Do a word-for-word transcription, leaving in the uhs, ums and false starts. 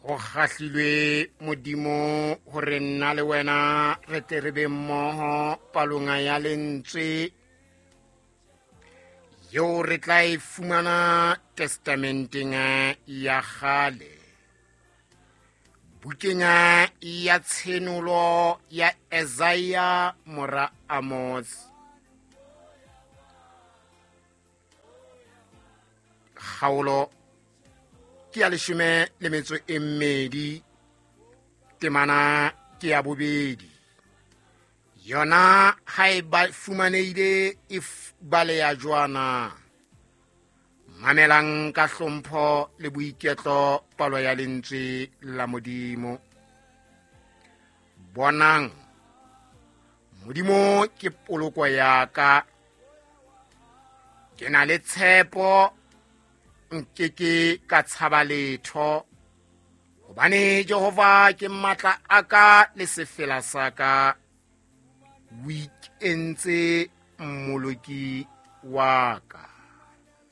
Ho kgahlilwe Modimo hore nna le wena re tle re be mmoho palong ya lentswe eo re tla e fumana testamenteng ya kgale, bukeng ya Tshenolo ya Isaiah mora Amos, kgaolo ke ya leshome le metso e mmedi, temana ke ya bobedi. Yona ha e ba fumanehile e baleha jwana. Mamelang ka hlompho le boiketlo palo ya lentswe la Modimo. Bonang, Modimo ke poloko ya ka. Ke na le tshepo, nkeke ka tshaba letho, hobane Jehova ke matla a ka le sefela sa ka. O ikentse mmoloki wa ka.